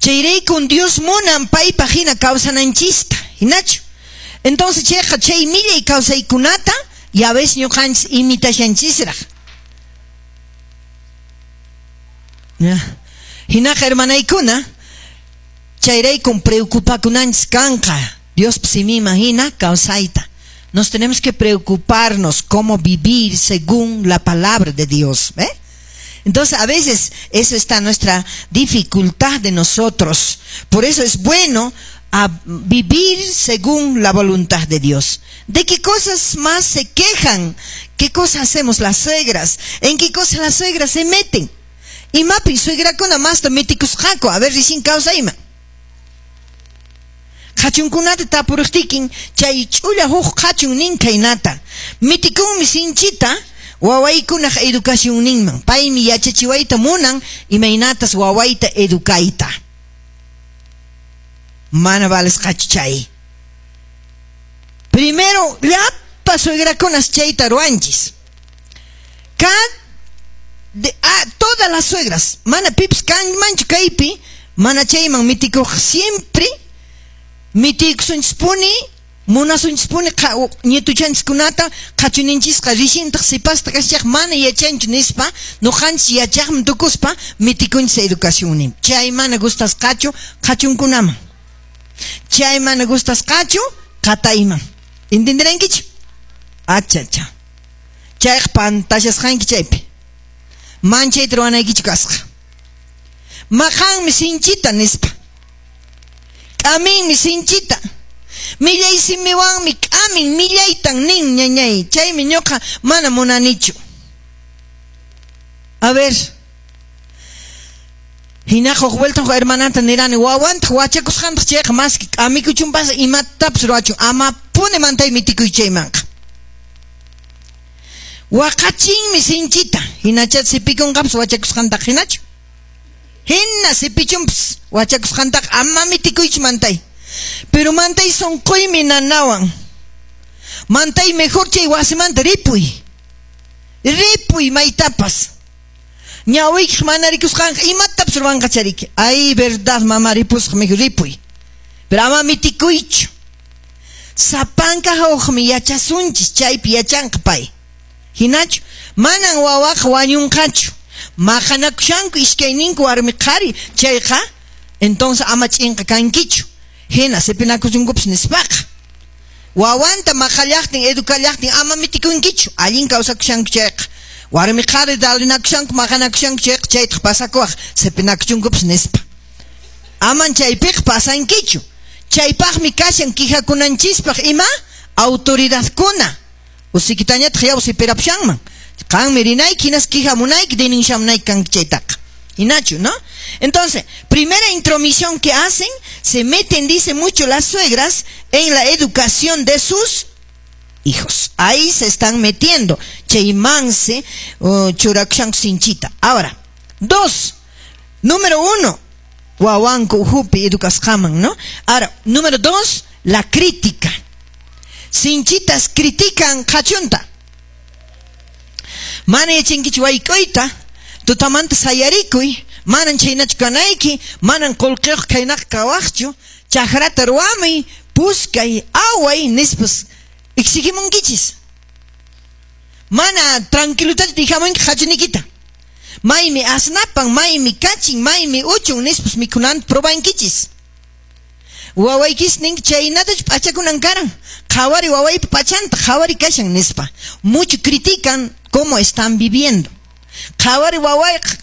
Chayraykun Dios munan paypaq hina kawsananchista, hinachu? Entonces chayqa chay millay kawsaykunata ya ves ñuqanchis imitashanchisraq. Hinaqa hermanaykuna, chayraykun preocupakunanchis kanqa Diospa siminman hina kawsayta. Nos tenemos que preocuparnos cómo vivir según la palabra de Dios, ¿eh? Entonces, a veces eso está nuestra dificultad de nosotros. Por eso es bueno a vivir según la voluntad de Dios. ¿De qué cosas más se quejan? ¿Qué cosas hacemos las suegras? ¿En qué cosas las suegras se meten? Imapi suegrakuna masta mitikusqaku, a ver, recién kawsayman. Qhachunkunata tapuriqtikin chay ch'ulla huk qhachun nin khaynata. Mitikunmi sinchita wawaykunaq educacionninman. Paymi yachachiwayta munan imaynatas wawayta educayta. Mana valesqachu chay. Primero, llapa suegrakunas chayta ruwanchis. Todas las suegras, mana pipas kanmanchu kaypi, mana chayman mitikuq siempre mitikusunchispuni, munasunchispuni ñituchanchiskunata qhachunichisqa rishintaq sipasta kashaq mana yachanchu nispa, nuqanchis yachaqman tukuspa mitikunchis educacionnin. Chay mana gustasqachu qhachunkunaman. Chay mana gustasqachu qatayman. ¿Entenderankichu? Achacha. Chayqa pantashasqanki chaypi. Manchayta ruwanaykichu kasqa. Maqanmi sinchita nispa. K'aminmi sinchita. Millay simiwanmi k'amin millaytan nin ñañay. Chaymi ñuqa mana munanichu. A ver. Hinaqa huk vuelta huk hermananta nirani wawantaq wachakusqantaq chayqa maski k'amikuchunpas imatapas ruwachun amapuni mantay mitikuy chaymanqa. Waqachinmi sinchita. Hinacha sipikunqapas wachakusqantaq hinachu. Hina sipichunpas wachakusqantaq ama mitikuychu mantay. Pero mantay sunquymi nanawan. Mantay mejor chay wasimanta ripuy. Ripuy maytapas. Ñawiykiq mana rikusqanqa imatapas ruwanqa chariki. Ay, verdad, mamá, ripusqa mejor ripuy. Pero ama mitikuychu. Sapanka hawqmi yachasunchis chaypi yachanqa pay. Hinachu, manan wawaqa wañunqachu. Maqanakushanku iskayninku warmi qhari chayqa, entonces ama ch'inqa kankichu. Hina sipinakusunkupas nispaqa. Wawanta maqallaqtin, educallaqtin ama mitikunkichu. Allin kawsakushanku chayqa. Warmi qhari dalinakushanku, maqanakushanku chayqa chaytaq pasakuwaq sipinakuchunkupas nispa. Aman chaypiqa pasankichu. Chaypaqmi kashan quejakunanchispaq ima autoridadkuna. Usikitañataq yaw sipirapushanman. Qanmi rinayki, hinas quejamunayki, denunciamunayki kanki chaytaqa. Hinachu, ¿no? Entonces, primera intromisión que hacen, se meten, dice mucho las suegras, en la educación de sus hijos. Ahí se están metiendo. Chaymanse, churakushanku sinchita. Ahora, dos. Número uno, wawanku uhupi educasqaman, ¿no? Ahora, número dos, la crítica. Sinchitas critican qhachunta. Mana yachankichu wayk'uyta, tutamanta sayarikuy, manan chaynachu kanayki, manan qullqiyuq khaynaqa kawaqchu, chakrata ruwamuy, puskay, away, nispas exigimunkichis. Mana tranquilutachu dijamunki qhachunikita. Maymi asnapan, maymi kachin, maymi uchun, nispas mikhunanta probankichis. Wawaykis ninki chaynatachu p'achakunan karan. Qhawari wawaypa p'achanta, qhawari kashan nispa. Mucho critican cómo están viviendo. Qhawari wawayqa